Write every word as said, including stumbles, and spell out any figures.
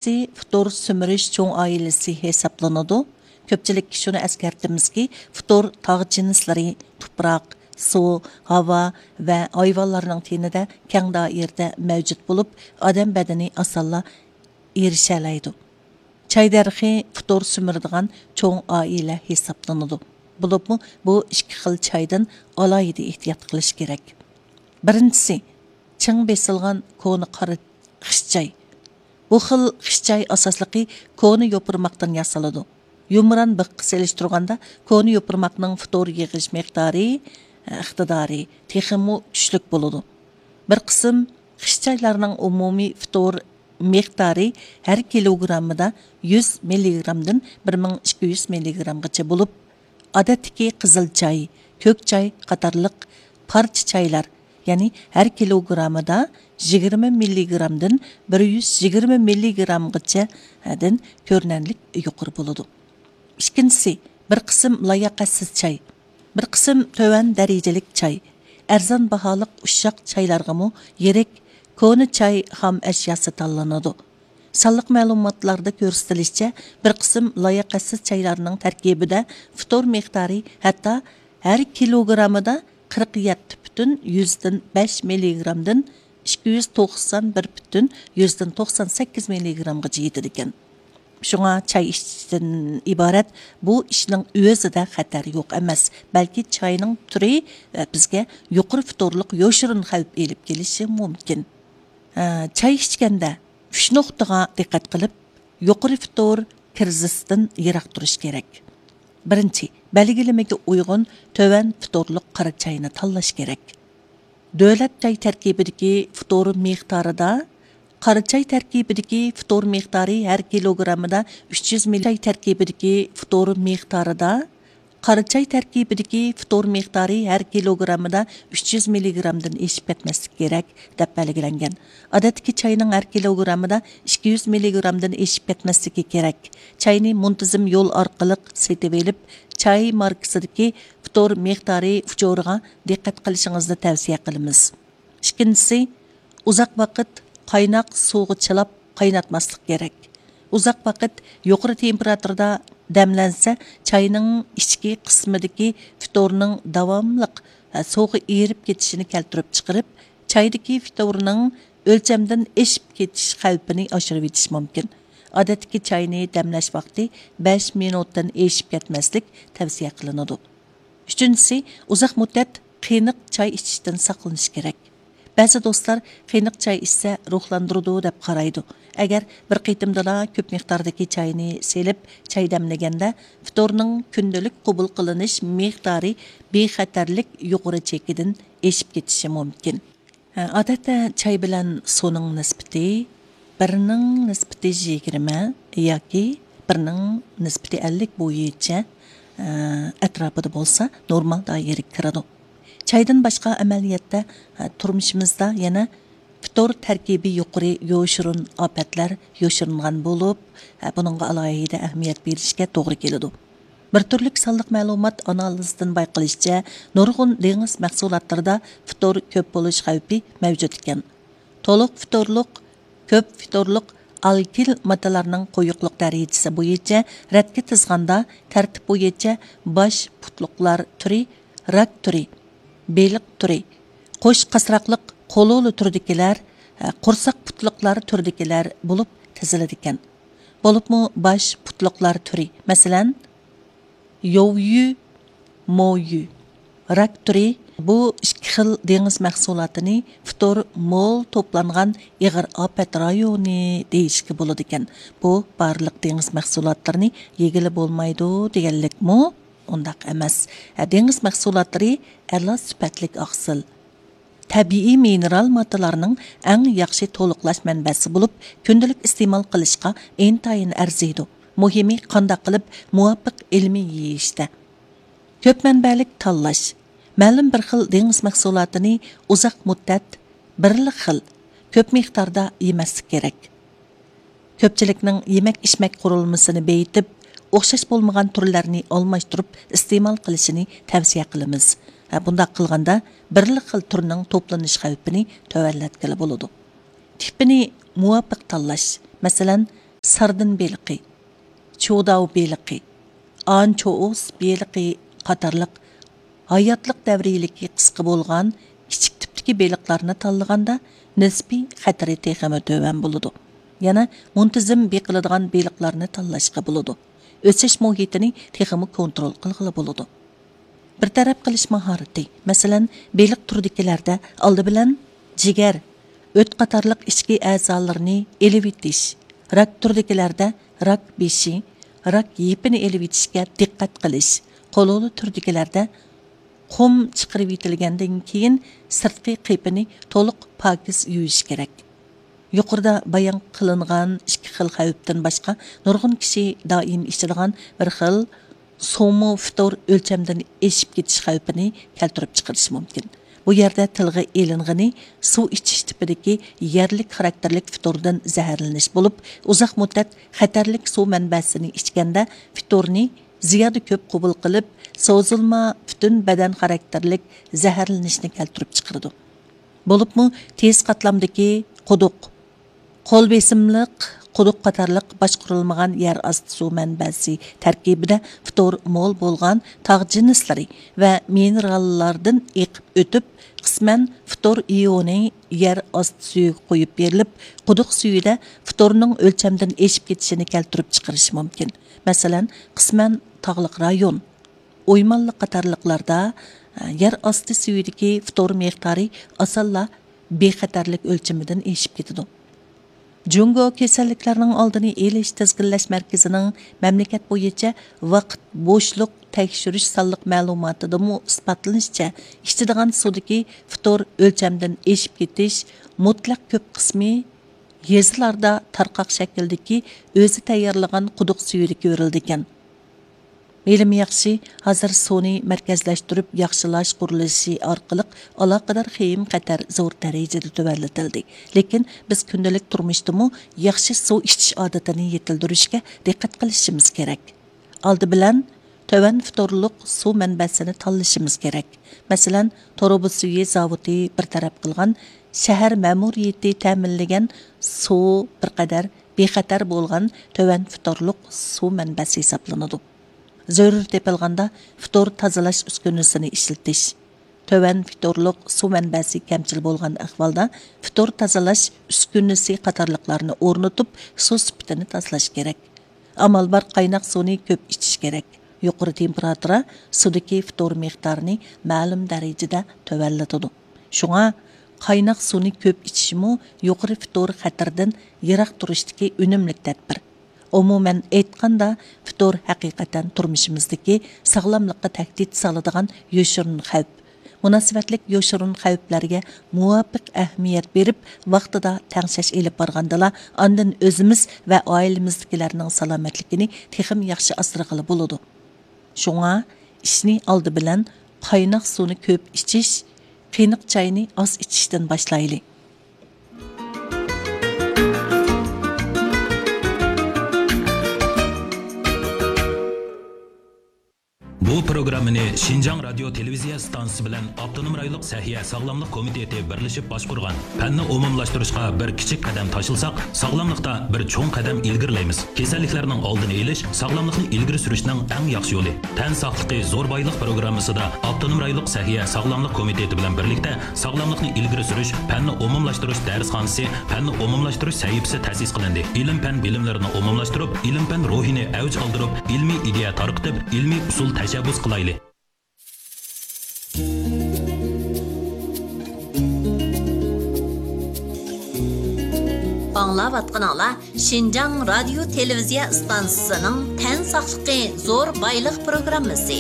فىتور سۈمۈرۈش چوڭ ئائىلىسى ھېسابلىنىدۇ. كۆپچىلىككە شۇنى ئەسكەرتىمىزكى، فىتور تاغ جىنسلىرى، تۇپراق، سۇ، ھاۋا ۋە ھايۋانلارنىڭ تېنىدە كەڭ دائىرىدە مەۋجۇت بولۇپ، ئادەم بەدىنى ئاسانلا ئېرىشەلەيدۇ. چاي دەرىخى فىتور سۈمۈرىدىغان چوڭ ئائىلە ھېسابلىنىدۇ. بولۇپمۇ بۇ ئىككى خىل چايدىن ئالاھىدە ئېھتىيات قىلىش كېرەك. بىرىنچىسى، چىڭ بېسىلغان كونا قارا خىش چاي. بۇ خىل خىش چاي ئاساسلىقى كونا يوپۇرماقتىن ياسىلىدۇ. يۇمران بىخقا سېلىشتۇرغاندا كونا يوپۇرماقنىڭ فىتور يىغىش مىقدارى، ئىقتىدارى تېخىمۇ كۈچلۈك بولىدۇ. بىر قىسىم خىش چايلارنىڭ ئومۇمىي فىتور مىقدارى ھەر كىلوگراممىدا يۈز مىللىگرامدىن بىر مىڭ ئىككى يۈز مىللىگرامغىچە بولۇپ، ئادەتتىكى قىزىل چاي، كۆك چاي قاتارلىق پارچە چايلار، يەنى ھەر كىلوگراممىدا يىگىرمە مىللىگرامدىن بىر يۈز يىگىرمە مىللىگرامغىچە دىن كۆرۈنەرلىك يۇقىرى بولىدۇ. ئىككىنچىسى، بىر قىسىم لاياقەتسىز چاي، بىر قىسىم تۆۋەن دەرىجىلىك چاي، ئەرزان باھالىق ئۇششاق چايلارغىمۇ يىرىك كونا چاي خام ئەشياسى تاللىنىدۇ. سانلىق مەلۇماتلاردا كۆرسىتىلىشىچە، بىر قىسىم لاياقەتسىز چايلارنىڭ تەركىبىدە فىتور مىقدارى ھەتتا ھەر كىلوگراممىدا قىرىق يەتتە پۈتۈن يۈزدىن بەش مىللىگرامدىن ئىككى يۈز توقسان بىر پۈتۈن يۈزدىن توقسان سەككىز مىللىگرامغىچە يېتىدىكەن. شۇڭا چاي ئىچىشتىن ئىبارەت بۇ ئىشنىڭ ئۆزىدە خەتەر يوق ئەمەس، بەلكى چاينىڭ تۈرى، ئە، بىزگە يۇقىرى فىتورلۇق يوشۇرۇن خەۋپ ئېلىپ كېلىشى مۇمكىن. ئە، چاي ئىچكەندە ئۈچ نۇقتىغا دىققەت قىلىپ، يۇقىرى فىتور كىرىزىستىن يىراق تۇرۇش كېرەك. بىرىنچى، بەلگىلىمىگە ئۇيغۇن تۆۋەن فىتورلۇق قارا چاينى تاللاش كېرەك. دۆلەت چاي تەركىبىدىكى فىتور مىقدارىدا، قارا چاي تەركىبىدىكى فىتور مىقدارى ھەر كىلوگراممىدا ئۈچ يۈز مىللىگرام، چاي تەركىبىدىكى فىتور مىقدارىدا، قارا چاي تەركىبىدىكى فىتور مىقدارى ھەر كىلوگراممىدا ئۈچ يۈز مىللىگرامدىن ئېشىپ كەتمەسلىكى كېرەك، دەپ بەلگىلەنگەن. ئادەتتىكى چاينىڭ ھەر كىلوگراممىدا ئىككى يۈز مىللىگرامدىن ئېشىپ كەتمەسلىكى كېرەك. چاينى مۇنتىزىم يول ئارقىلىق سېتىۋېلىپ، چاي ماركىسىدىكى فىتور مىقدارى ئۇچۇرىغا دىققەت قىلىشىڭىزنى تەۋسىيە قىلىمىز. ئىككىنچىسى، ئۇزاق ۋاقىت قايناق سۇغا چىلاپ قايناتماسلىق كېرەك. ئۇزاق ۋاقىت يۇقىرى تېمپېراتۇرىدا دەملەنسە، چاينىڭ ئىچكى قىسمىدىكى فىتورنىڭ داۋاملىق، ھە، سۇغا ئېرىپ كېتىشىنى كەلتۈرۈپ چىقىرىپ، چايدىكى فىتورنىڭ ئۆلچەمدىن ئېشىپ كېتىش خەۋپىنى ئاشۇرۇۋېتىشى مۇمكىن. ئادەتتىكى چاينى دەملەش ۋاقتى بەش مىنۇتتىن ئېشىپ كەتمەسلىك تەۋسىيە قىلىنىدۇ. ئۈچىنچىسى، ئۇزاق مۇددەت قېنىق چاي ئىچىشتىن ساقلىنىش كېرەك. بەزى دوستلار قېنىق چاي ئىچسە روھلاندۇرىدۇ دەپ قارايدۇ. ئەگەر بىر قېتىمدىلا كۆپ مىقداردىكى چاينى سېلىپ چاي دەملىگەندە، فىتورنىڭ كۈندىلىك قوبۇل قىلىنىش مىقدارى بىخەتەرلىك يۇقىرى چېكىدىن ئېشىپ كېتىشى مۇمكىن. ئادەتتە چاي بىلەن سۇنىڭ نىسبىتى بىرنىڭ نىسبىتى يىگىرمە ياكى بىرنىڭ نىسبىتى ئەللىك بويىچە، ئەتراپىدا بولسا، نورمال دائىرىگە كىرىدۇ. چايدىن باشقا ئەمەلىيەتتە، تۇرمۇشىمىزدا يەنە فىتور تەركىبى يۇقىرى يوشۇرۇن ئاپەتلەر يوشۇرۇنغان بولۇپ، بۇنىڭغا ئالاھىدە ئەھمىيەت بېرىشكە توغرا كېلىدۇ. بىر تۈرلۈك سانلىق مەلۇمات ئانالىزىدىن بايقىلىشىچە، نۇرغۇن دېڭىز مەھسۇلاتلىرىدا فىتور كۆپ بولۇش خەۋپى مەۋجۇت ئىكەن. تولۇق فىتورلۇق، كۆپ فىتورلۇق ئالكىل ماددىلارنىڭ قويۇقلۇق دەرىجىسى بويىچە رەتكە تىزغاندا، تەرتىپ بويىچە باش پۇتلۇقلار تۈرى، راك تۈرى، بېلىق تۈرى، قوش قاسراقلىق قولۇلا تۈرىدىكىلەر، قورساق پۇتلۇقلار تۈرىدىكىلەر بولۇپ تىزىلىدىكەن. بولۇپمۇ باش پۇتلۇقلار تۈرى، مەسىلەن، يوۋيۈ، مويۈ، راك تۈرى، بۇ ئىككى خىل دېڭىز مەھسۇلاتىنى فىتور مول توپلانغان ئېغىر ئاپەت رايونى دېيىشكە بولىدىكەن. بۇ بارلىق دېڭىز مەھسۇلاتلىرىنى يېگىلى بولمايدۇ دېگەنلىكمۇ؟ ئۇنداق ئەمەس. دېڭىز مەھسۇلاتلىرى ئەلا سۈپەتلىك ئاقسىل، تەبىئىي مىنېرال ماددىلارنىڭ ئەڭ ياخشى تولۇقلاش مەنبەسى بولۇپ، كۈندىلىك ئىستېمال قىلىشقا ئىنتايىن ئەرزىيدۇ. مۇھىمى، قانداق قىلىپ مۇۋاپىق ئىلمىي يېيىشتە. كۆپ مەنبەلىك تاللاش. مەلۇم بىر خىل دېڭىز مەھسۇلاتىنى ئۇزاق مۇددەت بىرلا خىل، كۆپ مىقداردا يېمەسلىك كېرەك. كۆپچىلىكنىڭ يېمەك-ئىچمەك قۇرۇلمىسىنى بېيىتىپ، ئوخشاش بولمىغان تۈرلەرنى ئالماشتۇرۇپ ئىستېمال قىلىشىنى تەۋسىيە قىلىمىز. ھە، بۇنداق قىلغاندا بىرلا خىل تۈرنىڭ توپلىنىش خەۋپىنى تۆۋەنلەتكىلى بولىدۇ. تىپىنى مۇۋاپىق تاللاش. مەسىلەن، ساردىن بېلىقى، چوداۋ بېلىقى، ئانچوۋىس بېلىقى قاتارلىق ھاياتلىق دەۋرىيلىكى قىسقا بولغان كىچىك تىپتىكى بېلىقلارنى تاللىغاندا، نىسپىي خەتىرى تېخىمۇ تۆۋەن بولىدۇ. يەنە مۇنتىزىم بېقىلىدىغان بېلىقلارنى تاللاشقا بولىدۇ. ئۆسۈش مۇھىتىنى تېخىمۇ كونترول قىلغىلى بولىدۇ. بىر تەرەپ قىلىش ماھارىتى، مەسىلەن، بېلىق تۈرىدىكىلەردە ئالدى بىلەن جىگەر، ئۆت قاتارلىق ئىچكى ئەزالىرىنى ئېلىۋېتىش، راك تۈرىدىكىلەردە راك بېشى، راك يىپىنى ئېلىۋېتىشكە دىققەت قىلىش، قولۇلە تۈرىدىكىلەردە قۇم چىقىرىۋېتىلگەندىن كېيىن سىرتقى قېپىنى تولۇق پاكىز يۇيۇش كېرەك. يۇقىرىدا بايان قىلىنغان ئىككى خىل خەۋپتىن باشقا، نۇرغۇن كىشى دائىم ئىچىدىغان بىر خىل سومو فىتور ئۆلچەمدىن ئېشىپ كېتىش خەۋپىنى كەلتۈرۈپ چىقىرىشى مۇمكىن. بۇ يەردە تىلغا ئېلىنغىنى سۇ ئىچىش تىپىدىكى يەرلىك خاراكتېرلىك فىتوردىن زەھەرلىنىش بولۇپ، ئۇزاق مۇددەت خەتەرلىك سۇ مەنبەسىنى ئىچكەندە فىتورنى زىيادە كۆپ قوبۇل قىلىپ، سوزۇلما پۈتۈن بەدەن خاراكتېرلىك زەھەرلىنىشنى كەلتۈرۈپ چىقىرىدۇ. بولۇپمۇ تېز قاتلامدىكى قۇدۇق، قول بېسىملىق قۇدۇق قاتارلىق باشقۇرۇلمىغان يەر ئاستى سۇ مەنبەسى تەركىبىدە فىتور مول بولغان تاغ جىنسلىرى ۋە مىنېراللاردىن ئېقىپ ئۆتۈپ، قىسمەن فىتور ئىيونى يەر ئاستى سۈيىگە قويۇپ بېرىلىپ، قۇدۇق سۈيىدە فىتورنىڭ ئۆلچەمدىن ئېشىپ كېتىشىنى كەلتۈرۈپ چىقىرىشى مۇمكىن. مەسىلەن، قىسمەن تاغلىق رايون، ئويمانلىق قاتارلىقلاردا، ئە، يەر ئاستى سۈيىدىكى فىتور مىقدارى ئاسانلا بىخەتەرلىك ئۆلچىمىدىن ئېشىپ كېتىدۇ. جۇڭگو كېسەللىكلەرنىڭ ئالدىنى ئېلىش تىزگىنلەش مەركىزىنىڭ مەملىكەت بويىچە ۋاقىت بوشلۇق تەكشۈرۈش سانلىق مەلۇماتىدىمۇ ئىسپاتلىنىشىچە، ئىچىدىغان سۇدىكى فىتور ئۆلچەمدىن ئېشىپ كېتىش مۇتلەق كۆپ قىسمى يېزىلاردا تارقاق شەكىلدىكى ئۆزى تەييارلىغان قۇدۇق سۈيىدە كۆرۈلىدىكەن. ھېلىمۇ ياخشى، ھازىر سۇنى مەركەزلەشتۈرۈپ ياخشىلاش قۇرۇلۇشى ئارقىلىق ئالاقىدار خېيىم خەتەر زور دەرىجىدە تۆۋەنلىتىلدى. لېكىن بىز كۈندىلىك تۇرمۇشتىمۇ ياخشى سۇ ئىچىش ئادىتىنى يېتىلدۈرۈشكە دىققەت قىلىشىمىز كېرەك. ئالدى بىلەن تۆۋەن فىتورلۇق سۇ مەنبەسىنى تاللىشىمىز كېرەك. مەسىلەن، تۇرۇبا سۈيى زاۋۇتى بىر تەرەپ قىلغان، شەھەر مەمۇرىيىتى تەمىنلىگەن سۇ بىر قەدەر بىخەتەر بولغان تۆۋەن فىتورلۇق سۇ مەنبەسى ھېسابلىنىدۇ. زۆرۈر تېپىلغاندا فىتور تازىلاش ئۈسكۈنىسىنى ئىشلىتىش. تۆۋەن فىتورلۇق سۇ مەنبەسى كەمچىل بولغان ئەھۋالدا فىتور تازىلاش ئۈسكۈنىسى قاتارلىقلارنى ئورنىتىپ، سۇ سۈپىتىنى تازىلاش كېرەك. ئامال بار قايناق سۇنى كۆپ ئىچىش كېرەك. يۇقىرى تېمپېراتۇرا سۇدىكى فىتور مىقدارىنى مەلۇم دەرىجىدە تۆۋەنلىتىدۇ. شۇڭا قايناق سۇنى كۆپ ئىچىشمۇ يۇقىرى فىتور خەتىرىدىن يىراق تۇرۇشتىكى ئۈنۈملۈك تەدبىر. ئومۇمەن ئېيتقاندا، فىتور ھەقىقەتەن تۇرمۇشىمىزدىكى ساغلاملىققا تەھدىت سالىدىغان يوشۇرۇن خەۋپ. مۇناسىۋەتلىك يوشۇرۇن خەۋپلەرگە مۇۋاپىق ئەھمىيەت بېرىپ، ۋاقتىدا تەڭشەش ئېلىپ بارغاندىلا، ئاندىن ئۆزىمىز ۋە ئائىلىمىزدىكىلەرنىڭ سالامەتلىكىنى تېخىمۇ ياخشى ئاسرىغىلى بولىدۇ. شۇڭا ئىشنى ئالدى بىلەن قايناق سۇنى كۆپ ئىچىش، قېنىق چاينى ئاز ئىچىشتىن باشلايلى. بۇ پروگراممىنى شىنجاڭ رادىيو تېلېۋىزىيە ئىستانسىسى بىلەن ئاپتونوم رايونلۇق سەھىيە ساغلاملىق كومىتېتى بىرلىشىپ باشقۇرغان. پەننى ئومۇملاشتۇرۇشقا بىر كىچىك قەدەم تاشلىساق، ساغلاملىقتا بىر چوڭ قەدەم ئىلگىرىلەيمىز. كېسەللىكلەرنىڭ ئالدىنى ئېلىش، ساغلاملىقنى ئىلگىرى سۈرۈشنىڭ ئەڭ ياخشى يولى. تەن ساقلىقى زور بايلىق پروگراممىسىدا ئاپتونوم رايونلۇق سەھىيە ساغلاملىق كومىتېتى بىلەن بىرلىكتە ساغلاملىقنى ئىلگىرى سۈرۈش پەننى ئومۇملاشتۇرۇش دەرسخانىسى، پەننى ئومۇملاشتۇرۇش سەھىپىسى تەسىس قىلىندى. ئىلىم-پەن بىلىملىرىنى ئومۇملاشتۇرۇپ، ئىلىم-پەن روھىنى ئەۋج ئالدۇرۇپ، ئىلمىي ئىدىيە تارقىتىپ، ئىلمىي ئۇسۇل تەشەببۇس قىلايلى. ئاڭلاۋاتقىنىڭلار شىنجاڭ رادىيو تېلېۋىزىيە ئىستانسىسىنىڭ تەن ساقلىقى زور بايلىق پروگراممىسى.